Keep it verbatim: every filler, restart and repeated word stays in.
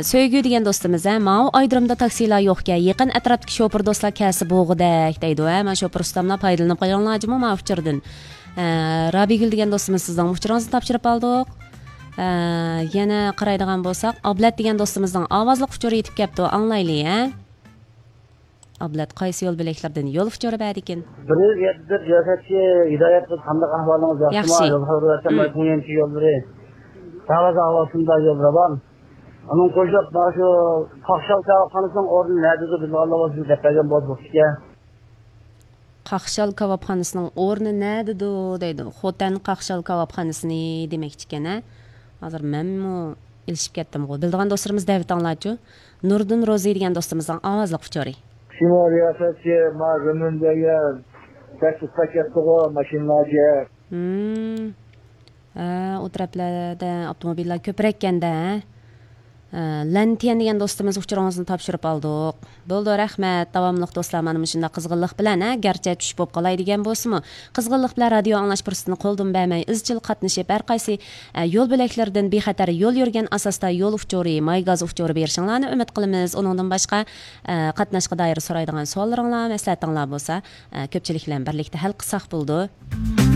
سۆيگۈ دېگەن دوستىمىز، ھە، ماۋۇ ئايرودرومدا تاكسىلار يوقكەن، يېقىن ئەتراپتىكى شوپۇر دوستلار كەلسە بوغۇدەك دەيدۇ، ھە، مانا شوپۇر ئۇستاملار پايدىلىنىپ قېلىڭلار جۇمۇ ماۋۇ ئۇچۇردىن. ھە، رابىيگۈل دېگەن دوستىمىز سىزنىڭ ئۇچۇرىڭىزنى تاپشۇرۇپ ئالدۇق. ھە، يەنە قارايدىغان بولساق، ئابلەت دېگەن دوستىمىزنىڭ ئاۋازلىق ئۇچۇرى يېتىپ كەپتۇ، ئاڭلايلى، ھە. ئابلەت قايسى يول بۆلەكلىرىدىن يول ئۇچۇرى بەردىكىن؟ بىر يۈز يەتتە تۆت رىياسەتچى ھىدايەت قىلىپ، قانداق ئەھۋالىڭىز، ياخشىمۇ؟ ياخشى. يول خەۋىرى ۋەتەن ھىم. بايقۇڭيەنچى يوللىرى. تاۋازا ئاۋاسىندا يول راۋان. ئۇنىڭ قوشۇلۇپ، مانا شۇ قاقشال كاۋاپخانىسىنىڭ ئورنى نەدىدۇ، بىلىدىغانلار بولسا دەپ بەرگەن بولسا بوپتىكەن. قاقشال كاۋاپخانىسىنىڭ ئورنى نەدىدۇ دەيدۇ. خوتەن قاقشال كاۋاپخانىسىنى دېمەكچىكەن، ھە؟ ھازىر مەنمۇ ئېلىشىپ كەتتىمغۇ. بىلىدىغان دوستلىرىمىز دەۋېتىڭلارچۇ. نۇردىن روزى دېگەن دوستىمىزنىڭ ئاۋازلىق ئۇچۇرى. شىمال رىياسەتچى، ما زېمىن دېگەن، تەكلىپ كەتتىغۇ، ماشىنىلارچە. ھىم. ھە، ئۇ تەرەپلەردە ئاپتوموبىللار كۆپرەككەندە، ھە؟ ھە، لەنتيەن دېگەن دوستىمىز ئۇچۇرىڭىزنى تاپشۇرۇپ ئالدۇق. بولدى، رەھمەت. داۋاملىق دوستلار، مانا مۇشۇنداق قىزغىنلىق بىلەن، ھە، گەرچە چۈش بولۇپ قالاي دېگەن بولسىمۇ، قىزغىنلىق بىلەن رادىيو ئاڭلاش پۇرسىتىنى قولدىن بەرمەي، ئىزچىل قاتنىشىپ، ھەر قايسى، ئە، يول بۆلەكلىرىدىن بىخەتەر يول يۈرگەن ئاساستا يول ئۇچۇرى، ماي گازى ئۇچۇرى بېرىشىڭلارنى ئۈمىد قىلىمىز. ئۇنىڭدىن باشقا، ئە، قاتناشقا دائىر سورايدىغان سوئاللىرىڭلار، مەسلىھەتىڭلار بولسا، ئە، كۆپچىلىك بىلەن بىرلىكتە ھەل قىلساق بولىدۇ.